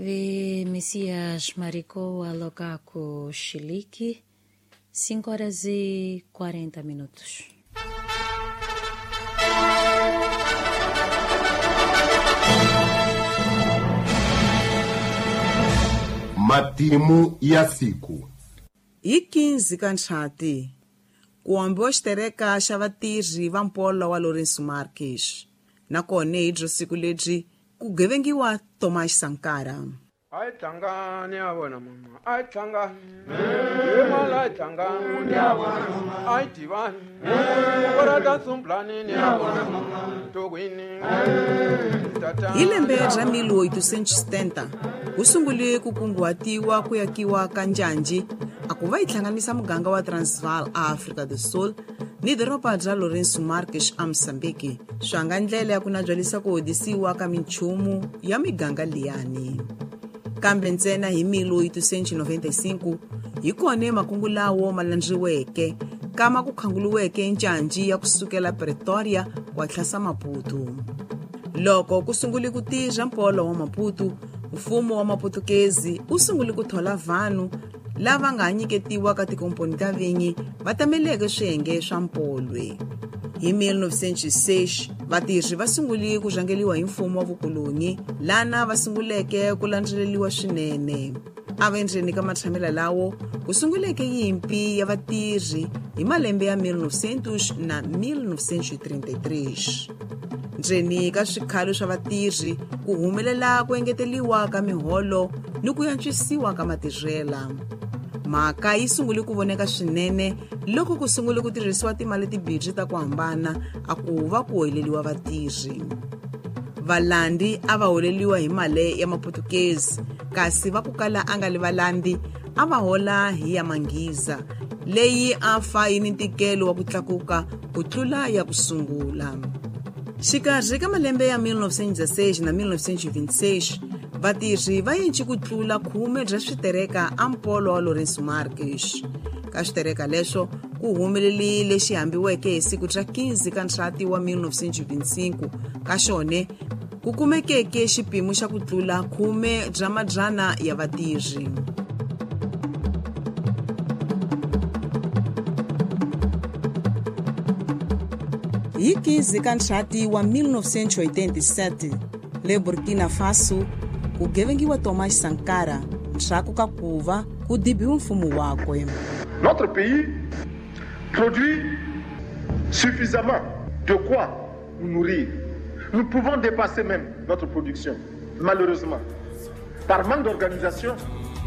Vi Messias Maricou Alocaco Chilique, 5 horas e 40 minutos. Matimu ya siku. Hi 15 ka Ntlhati, ku ambiwa xitereka xa vatirhi va mpolo wa Lourenço Marques. Nakona hi byo siku lebyi ku gevengiwa Thomas Sankara. A hi tlangani ya vona mama, a hi tlangani. Hi mala hi tlangani ya vona mama, a hi tivani. Ku sumblani ya vona mama, tokwini. Hi lembe ra 1870, ku sungule ku kunguhatiwa ku yakiwa ka njanji a ku va yi hlanganisa muganga wa Transvaal a Afrika do Sul ni doroba bya Lourenço Marques a Mozambique, swa nga ndlela ya ku nabyalisa ku hodisiwa ka minchumu ya miganga liyani. Kambe ntsena hi 1895 hi kona makungu lawo ma landziweke kama ku khanguluweke njanji ya kusukela Pretoria ku tlhasa Maputo. Loko ku sungule ku tirha mpolo wa Maputo, mfumo wa Maputukezi wu sungule ku thola vanhu lava nga nyiketiwa ka tikomponi ta vinyi va tameleke swiyenge swa mpolwe. Hi 1906 vatirhi va sungule ku rhangeliwa hi mfumo wa vukoloni, lana va sunguleke ku landzeleriwa swinene. A va endzeni ka matshamela lawo ku sunguleke yimpi ya vatirhi hi malembe ya 1900 na 1933. Ndzeni ka swikhalo swa vatirhi ku humelela ku engeteliwa ka miholo ni ku antswisiwa ka matirhela. Mhaka yi sungule ku voneka swinene loko ku sungule ku tirhisiwa timali tibirhi ta ku hambana a ku va ku holeliwa vatirhi. Valandi a va holeliwa hi mali ya Maputukezi, kasi va ku kala a nga li valandi a va hola hi ya Manghiza, leyi a fa yi ni ntikelo wa ku tlakuka ku tlula ya ku sungula. Xikarhi ka malembe ya 1916 na 1926, vatirhi va yenci ku tlula khume bya switereka a mpolo wa Lourenço Marques. Ka switereka leswo ku humelerile lexi hambiweke hi siku ra 15 ka Ntlhati wa 1925, ka xone ku kumekeke xipimo xa ku tlula khume bya madzana ya vatirhi. Hi 15 ka Ntlhati wa 1987, le Burkina Faso ku gevengiwa Thomas Sankara ndzhaku ka ku va ku dibiwa mfumo wakwe. Notre pays produit suffisamment de quoi nous nourrir. Nous pouvons dépasser même notre production. Malheureusement, par manque d'organisation,